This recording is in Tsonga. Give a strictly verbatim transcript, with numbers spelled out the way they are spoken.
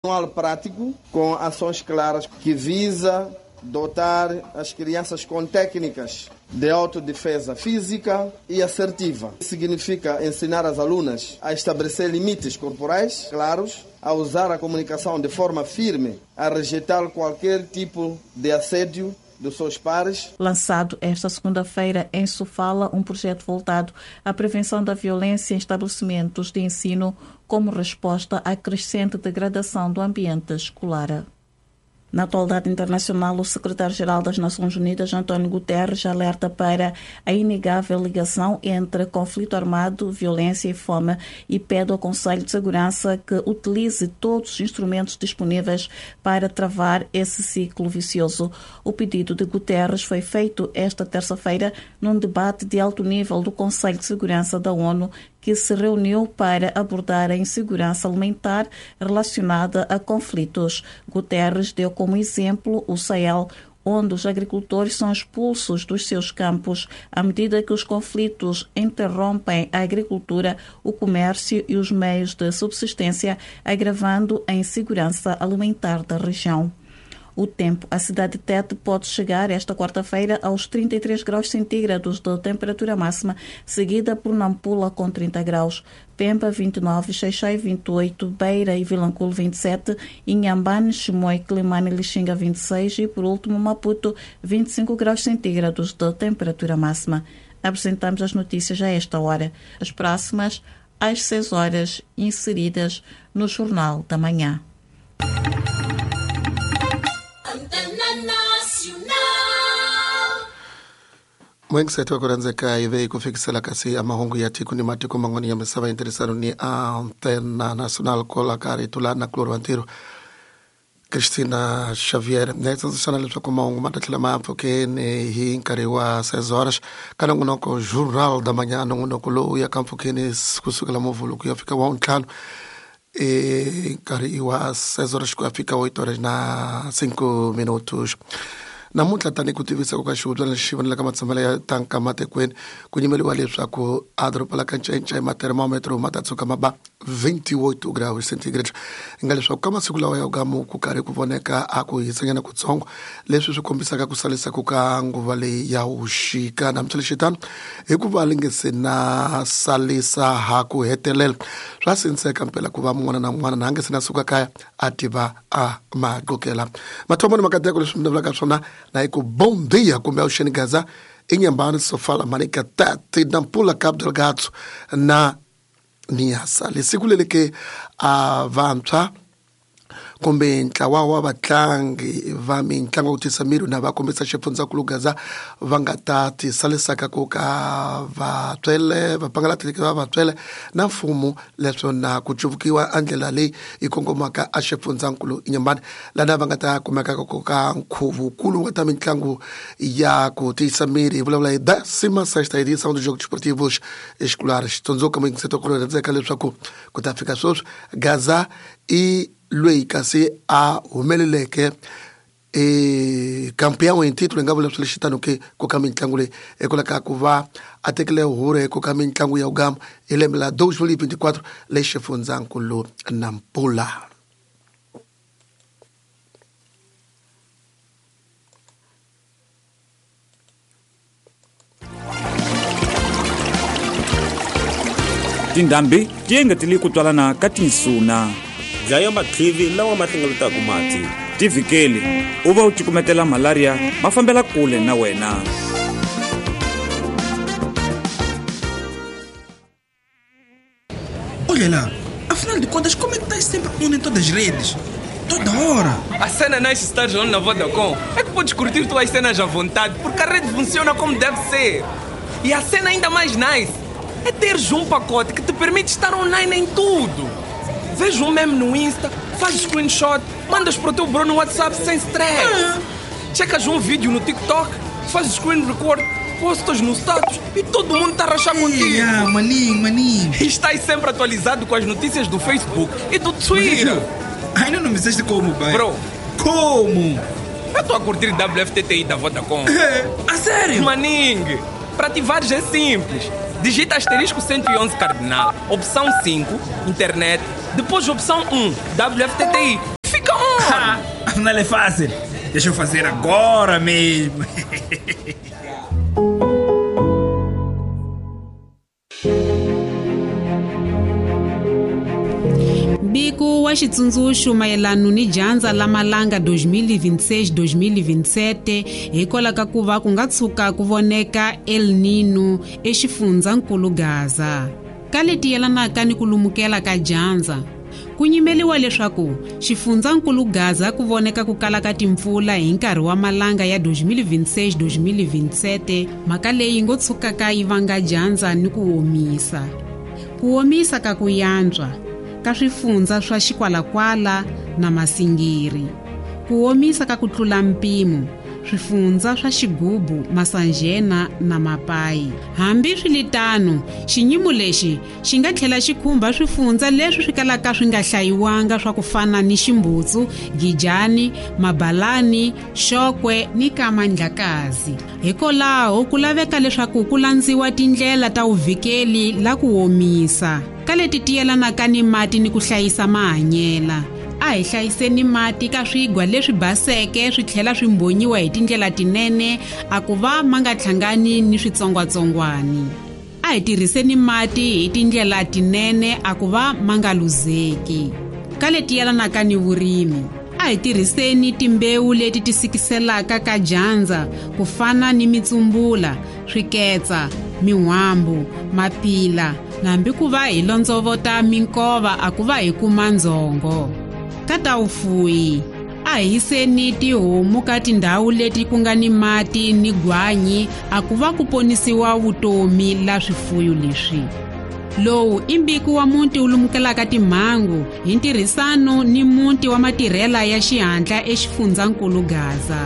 Manual prático com ações claras que visa dotar as crianças com técnicas de autodefesa física e assertiva. Significa ensinar as alunas a estabelecer limites corporais claros, a usar a comunicação de forma firme, a rejeitar qualquer tipo de assédio dos seus pares. Lançado esta segunda-feira em Sofala, um projeto voltado à prevenção da violência em estabelecimentos de ensino como resposta à crescente degradação do ambiente escolar. Na atualidade internacional, o secretário-geral das Nações Unidas, António Guterres, alerta para a inegável ligação entre conflito armado, violência e fome e pede ao Conselho de Segurança que utilize todos os instrumentos disponíveis para travar esse ciclo vicioso. O pedido de Guterres foi feito esta terça-feira num debate de alto nível do Conselho de Segurança da ONU, que se reuniu para abordar a insegurança alimentar relacionada a conflitos. Guterres deu como exemplo o Sahel, onde os agricultores são expulsos dos seus campos à medida que os conflitos interrompem a agricultura, o comércio e os meios de subsistência, agravando a insegurança alimentar da região. O tempo. A cidade de Tete pode chegar esta quarta-feira aos trinta e três graus centígrados de temperatura máxima, seguida por Nampula com trinta graus, Pemba vinte e nove, Xaixai vinte e oito, Beira e Vilanculo vinte e sete, Inhambane, Chimoio, Quelimane e Lixinga vinte e seis e, por último, Maputo vinte e cinco graus centígrados de temperatura máxima. Apresentamos as notícias a esta hora. As próximas, às seis horas, inseridas no Jornal da Manhã. Mwengisethu wakuranzeka ive ikufikisela kasi amahungu ya tiko ni matiko mang'wani ya misava interesano ni Antena Nacional kola kari tulana kloro wantiro Cristina Xavier netsondzisana leswaku mahungu ma ta tlhela ma mpfhukeni hi nkarhi wa seis horas ka nongonoko Jornal da Manhã, nongonoko lowu ya ka mpfhukeni kusukela Muvhulu ku ya fika wa ntlhanu e nkarhi wa seis horas ku ya fika oito horas na cinco minutos. Namuntlha tani ku tivisa ku ka xihundla lexi vonelaka matshamelo ya tanka matikweni ku nyimeliwa leswaku a doroba la ka Ncencei matermometro ma ta tshuka ma ba vinte e oito graus centígrados nga leswaku ka masiku lawa ya gamu ku karhi ku voneka a ku hisanyana kutsongo leswi swi kombisaka ku salisa ku ka nguva leyi ya vuxika. Namuntlha hikuva li nge se na salisa ha ku hetelela swa sinseka mpela ku va mun'wana na mun'wana na a nge se na suka kaya a tiva a maqokela mathomo ni makateko leswi mi vulaka swona na hi ku bom dia kumbe avuxeni Gaza Inhambane Sofala Manica Tete Nampula Cabo Delgado na Niassa lesiku leri ke a vantshwa kumbe ntlawa wa vatlangi va mitlangu ku tisa miri na va kombisa xifundzankulu Gaza va nga ta tisalisaka ku ka vatswele va pangala va vatswele na mfumo leswo na ku cuvukiwa a ndlela leyi yi kongomaka a xifundzankulu Inhambane lana va nga ta kumeka ku ka nkhuvukulu wa ta mitlangu ya ku tiyisa miri hi vulavula hi décima sexta edição dos Jogos Esportivos Escolares. Tsundzuka muyingiseti ku rhandzeka leswaku ku ta fika sweswi Gaza i loyi kasi a humeleleke e campeão em título nga vula swilo ke ku ka mitlangu leyi ekwala ku va a tekile hure ku ka mitlangu ya ugama hi lembe la dois mil e vinte e quatro le xifundzankulu Nampula. Tindhambi ti engetele ku twalana ka tinsuna dlaya matlivi lawa ma hlengeletaka mati tivikeli u va u cukumetela malaria ma fambela kule na wena. Olha lá, afinal de contas, como é que estás sempre on em todas as redes? Toda hora! A cena nice estar on na Vodacom é que podes curtir tuas cenas à vontade, porque a rede funciona como deve ser. E a cena ainda mais nice é teres um pacote que te permite estar online em tudo. Vês um meme no Insta, fazes screenshot, mandas para o teu bro no WhatsApp sem stress. Ah. Checas um vídeo no TikTok, fazes screen record, postas no status e todo mundo está a rachar contigo. Ah, maninho, maninho. E estás sempre atualizado com as notícias do Facebook e do Twitter. Ainda não me disseste como, pai. Bro. Como? Eu estou a curtir W F T T I da Vodacom. A sério? Maninho, para ativares é simples. Digita asterisco cento e onze cardinal, opção cinco, internet, depois opção um, W F T T I. Ah, afinal é fácil. Deixa eu fazer agora mesmo. Mbiko wa xitsundzuxo mayelana ni dyandza la malanga dois mil e vinte e seis dois mil e vinte e sete hikwalaho ka ku va ku nga tshuka ku voneka El Nino exifundzankulu Gaza. Ka leti yelanaka ni ku lumukela ka dyandza, ku nyimeliwa leswaku xifundzankulu Gaza ku voneka ku kala ka timpfula hi nkarhi wa malanga ya dois mil e vinte e seis dois mil e vinte e sete, mhaka leyi ngo tshukaka yi vanga dyandza ni ku omisa. Ku omisa ka ku yantswa ka swifundza swa Xikwalakwala na Masingiri. Ku omisa ka ku tlula mpimo swifundza swa Xigubu, Masanjena na Mapai. Hambi swiritano, xinyimo lexi xi nga tlhela xi khumba swifundza leswi swi kalaka swi nga hlayiwanga swa ku fana ni Ximbutsu, Gijani, Mabalani, Xokwe ni Kamandlakazi. Hikwalaho ku laveka leswaku ku landziwa tindlela ta vuvikeli la ku omisa ka leti ti yelanaka ni mati ni ku hlayisa mahanyela. A hi hlayiseni mati ka swigwa leswi baseke swi tlhela swi mbonyiwa hi tindlela tinene a ku va ma nga hlangani ni switsongwatsongwani. A hi tirhiseni mati hi tindlela tinene a ku va ma nga luzeki. Ka leti yelanaka ni vurimi, a hi tirhiseni timbewu leti ti sikiselaka ka dyandza ku fana ni mitsumbula, swiketsa, min'wambu, mapila, hambi ku va hi londzovota minkova a ku va hi kuma ndzhongo. Ka ta vufuwi, a hi hiseni tihomu ka tindhawu leti ku nga ni mati ni gwanyi a ku va ku ponisiwa vutomi la swifuyo leswi. Lowu i mbiko wa muti wu lumukelaka timhangu hi ntirhisano ni muti wa matirhela ya xihatla exifundzankulu Gaza.